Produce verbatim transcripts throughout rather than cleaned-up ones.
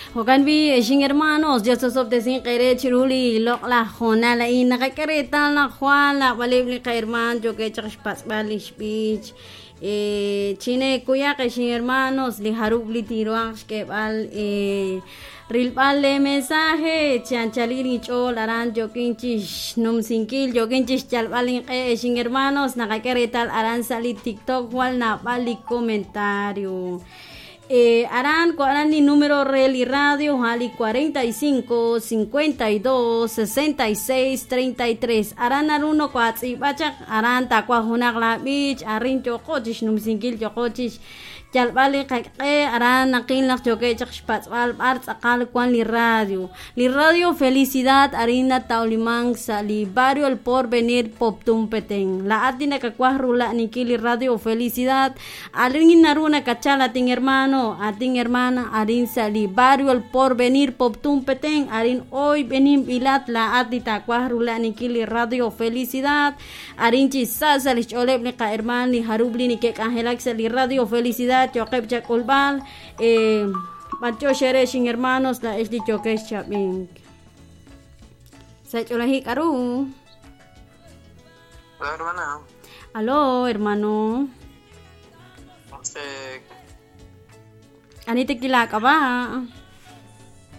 Jo'kan b'i xin hermanos Dios osob'tesinq eere chiru li loq'laj hoonal a'in naqak'e reetal naq jwal naab'aleb' li qaherman yookeb' chaq xpatz'b'al li xb'ich chinekuyaq xin hermanos li jarub' li tinruhanq xk'eeb'al rilb'al le mensaje chi anchalil inch'ool aran yookin chixnumsinkil yookin chixyalb'al inq'e xin hermanos naqak'e reetal aran sa' li TikTok jwal naab'al li comentario. Eh, aran aran li número re li radio ali cuarenta y cinco, cincuenta y dos, sesenta y seis, treinta y tres. Aran aruno kwatz'ib'achaq aran takwaj junaq la b'ich arin yoqochix numsinkil yoqochix yalb'al li qaq'e aran naqil naq yookeb' chaq xpatz'b'al b'ar tz'aqal wan li radio. Li radio Felicidad arin natawliman sa' li barrio El Porvenir Poptún Petén. La ati nakakwaj rula'ninkil li radio Felicidad arin naru nakachal atin hermano atin hermana arin sa' li barrio El Porvenir Poptún Petén arin hoy benin bilat la ati takwaj rula'ninkil li radio Felicidad arin chi sa' sa' li xch'ooleb' li qaherman li jarub li nikek'anjelak sa' li radio Felicidad yoqeb' chak'ulb'al eh, b'anch'ox ere xin hermanos la ex li yokex chab'ink sa' ch'oolajik k'aru. Hola, hermana. Aló, hermano. Este, Ani tekilak'ab'a.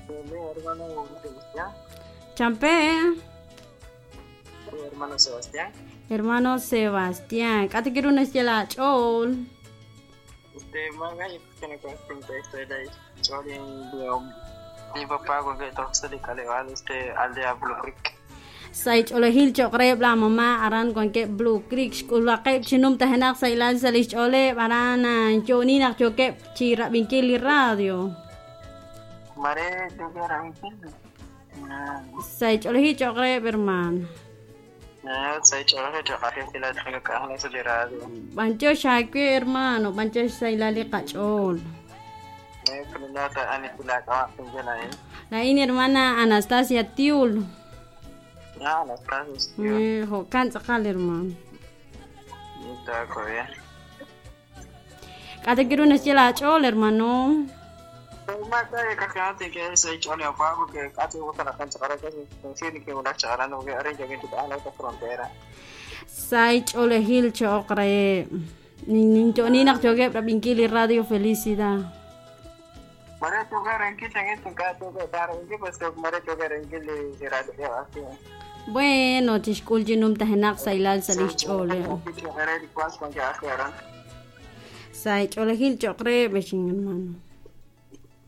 Hermano Sebastián. Champe. Hermano Sebastián. Hermano Sebastián. K'ate kiru naxye laach'ool. Este, manga, yo creo que no conozco de mi papá con que todos se le caleval este aldea Blue Creek. Sa' ch'oolejil cho'q reheb' la mamá aran wankeb' Blue Creek xk'ulwaqeb' chinum tajenaq sa' ilal sa' li xch'ooleb' aran yo'nin naq yookeb' chi rab'inkil li radio. Mare yookeb' rab'inkil. Sa' ch'oolejil cho'q reheb' hermano. Sa' ch'oolejil cho'q reheb' la k'anjel sa' li radio. B'anch'ox aawe hermano, b'anch'ox sa' ilal li qach'ool. Laa'in hermana Anastasia Tiul. Ah, Anastasia Tiul. Jo'kan tz'aqal hermano. Está bien. K'ate kiru naxye laach'ool hermano. Sa' ch'oolejil cho'q reheb' ninyo'nin naq yookeb' rab'inkil li radio Felicidad. Bueno, chixk'ul chinum tajenaq sa' ilal sa' li xch'ooleb'. Sa' ch'oolejil cho'q reheb' xin hermano.